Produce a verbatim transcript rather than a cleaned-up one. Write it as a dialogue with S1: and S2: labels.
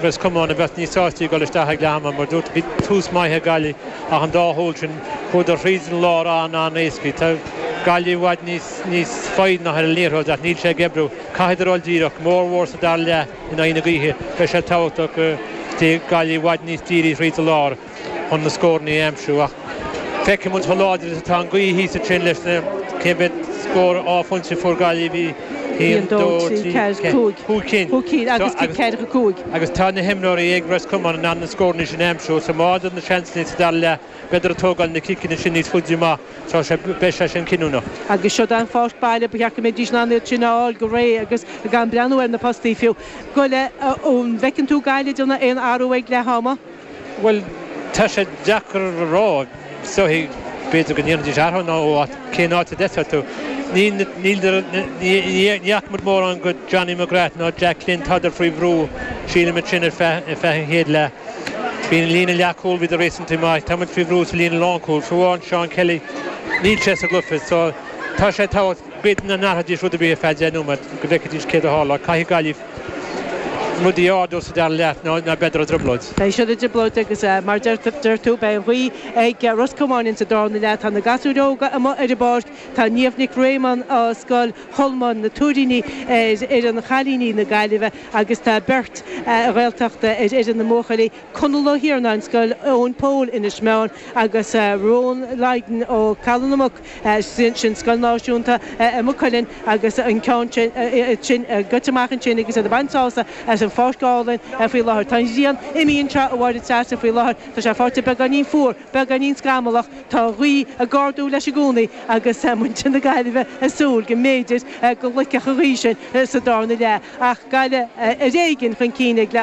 S1: Ros Comáin a bheith níos sásta dul isteach ag leath ama mar dúirt bhí tús maith ag Gaillimh ach an dá chúl sin chuadar thríd an lár an-an-éasca. Tá Gaillimh i bhfad níos níos foighne ar an liathróid ach níl sé ag oibriú. Caithfidh dul díreach mórmhór sa dara leath in aghaidh na gaoithe beidh sé tábhachtach go mbeidh Gaillimh i bhfad níos dírí thríd an lár chun na scóranna a aimsiú ach feicfidh muid chomh láidir is atá an ghaoth thíos ansin leis na cé mhéad scór dhá phointe fuair Gaillimh bhí haon dó trí ceathair cúig cinn.
S2: Cúig cinn agus cic ceathracha cúig.
S1: Agus tá na himreoirí ag Ros Comáin in ann na scóranna sin a aimsiú so má fhaigheann na seansanna sa dara leath b'fhéidir ag tógáil na ciceanna sin níos faide amach tá sé beidh sé sin cinniúnach.
S2: Agus seo an pháirc baile ba cheart go mbeidís in ann iad sin a fháil go réidh agus gan breathnú ar na postaí fiú. Goile an bhfeiceann tú Gaillimh ag déanamh aon athrú ag leath ama?
S1: Well tá sé deacair a rá so b'fhéidir go ndéanfaidís athrú nó cén áit a d'fheicfeá tú. Ní fhaca muid mórán de Johnny McGrath ná Jack Glynn tádar faoi bhrú sílim sin ar feadh an chéad leath. Bhí an líne leathchúil bhí réasúnta maith, Tá faoi bhrú sa líne lánchúil, fiú Sean Kelly níl sé sa gcluiche, so tá sé tá b'fhéidir nach n-athróidís rud ar bith ar feadh deich nóiméad go bhfeicfidís céard a tharla caithfidh Gaillimh rudaí ardú sa dara leath ná ná b'fhéidir i dtrioblóid.
S2: Beidh siad i dtrioblóid agus mar deir tú beidh an ghaoth ag Ros Comáin sa darna leath tá na gasúir óga amuigh ar an bpáirc tá Niamh Nic Réamoinn ó Scoil Cholmáin na Tuairíní ar ar an chailíní na Gaillimhe agus tá beirt Ghaeltachta ar ar na mbuachaillí Conall Ó hIarnáin Scoil Eoin Pól Inis Meáin agus Ron Leiden ó Calanamach sin sin Scoil Náisiúnta i Maigh Cuilinn agus an ceann sin goite amach ansin agus iad ag baint sásamh as an pháirc álainn faoi láthair. Tá an ghrian imithe anseo a Mháire Treasa faoi láthair Tá sé fáite beagáinín fuar, beagáinín scamallach tá gaoth ag ardú leis i gcónaí agus muintir na Gaillimhe ag súil go mb'fhéidir go loicfeadh an ghaoth sin sa darna leath ach Gaillimh ar éigean chun cinn ag le